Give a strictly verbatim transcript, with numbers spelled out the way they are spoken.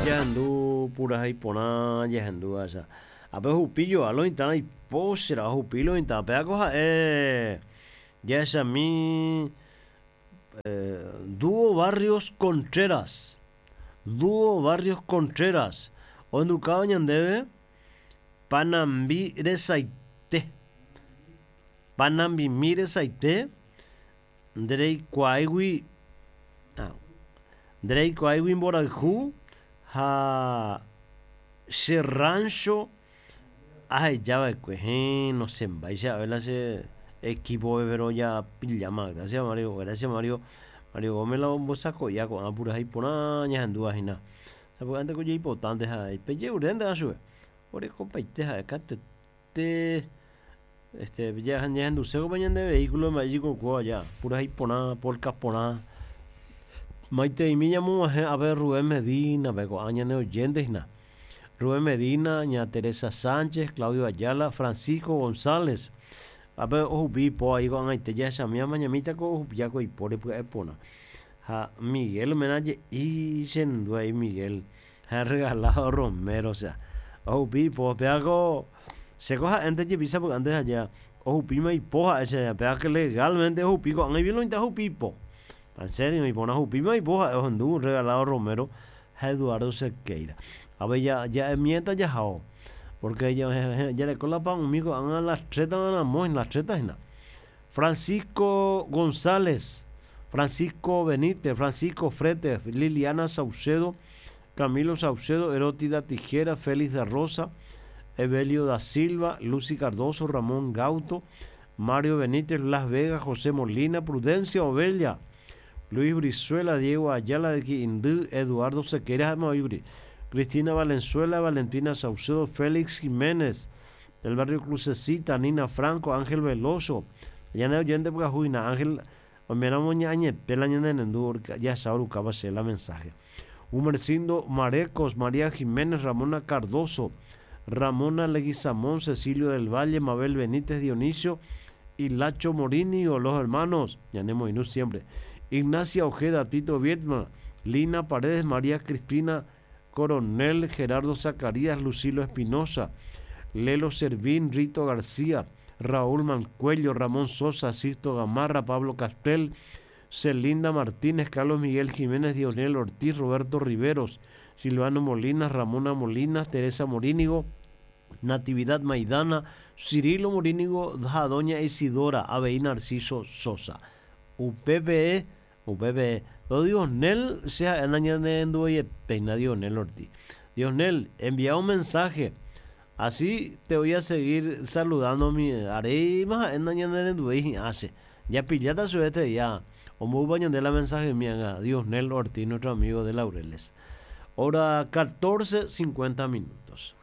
Jahendu purahéi porã jahendu acha. Ape ohupi joa lo mitã ipóchera ohupi lo mitã péako ha'e jahechami Dúo Barrios Contreras. Dúo Barrios Contreras. Ohendukáva ñandéve Panambi resaite. Panambimi resaite ndereikuaáigui ndereikuaáigui mborayhu ha che rancho ahejava'ekue héẽ nosẽmbáicha ave la che equipo pero japilláma gracias Mario gracias Mario Mario Gómez la ombosako'ia ko'ã purahéi porã ñahendúva hína sapy'ánte ko jaipotánte ha peje'urénte chupe orekopaite ha'e katuete este ñahenduséko ñande vehículo mba'éichiko aja purahéi porã polka porã maiteimi ñamog̃uahẽ ave Rubén Medina pe ko'ã ñane oyente hína Rubén Medina, ña Teresa Sánchez, Claudio Ayala, Francisco González ape ohupi ipo ahí ko'ag̃aite jahechami amañamíta ko ohupiáko ipóre pya'e porã ha Miguel mena je'i chendu Miguel ha regalado Romero osea ohupi ipo péako chéko ha'énte jepi sapy'ánte aja ohupíma ipo ha'e che péake legalmente ohupi ko'ág̃a iviolonita ohupi ipo en serio iporã ohupíma ipo ha'e ohendu regalado Romero ha Eduardo Sequeira ave ja'emiéta jahao porque jareko la pa'ũmi ko'ág̃a las tres ramo las tres hína Francisco González Francisco Benítez Francisco Frete Liliana Saucedo Camilo Saucedo Erótida Tijera Félix de Rosa Evelio da Silva Lucy Cardoso Ramón Gauto Mario Benítez Las Vegas José Molina Prudencia Ovella Luis Brizuela Diego Ayala de Quiindý Eduardo Sequeira Cristina Valenzuela Valentina Saucedo Félix Jiménez del barrio Crucecita Nina Franco Ángel Veloso ya oyente pyahuina Ángel oiméramo ñañete la ñanendu ya sabe che la mensaje Humercindo Marecos María Jiménez Ramona Cardoso Ramona Leguizamón Cecilio del Valle Mabel Benítez Dionisio y Lacho Morini o los hermanos ñanemoirũ siempre Ignacia Ojeda Tito Vietma Lina Paredes María Cristina Coronel Gerardo Zacarías Lucilo Espinosa Lelo Servín Rito García Raúl Mancuello Ramón Sosa Sisto Gamarra Pablo Castel Celinda Martínez Carlos Miguel Jiménez Dionel Ortiz Roberto Riveros Silvano Molina Ramona Molina Teresa Morínigo Natividad Maidana Cirilo Morínigo Doña Isidora avei Narciso Sosa U P P E U P P E do Dionel che ha'e nañanenduveietéina Dionel Ortiz Dionel envía un mensaje así te voy a seguir saludando mi aréima ha'e nañanerenduvéi hi'ã che japilláta chupe este día omboúpa ñande la mensaje mía Dionel Ortiz nuestro amigo de Laureles hora catorce cincuenta minutos.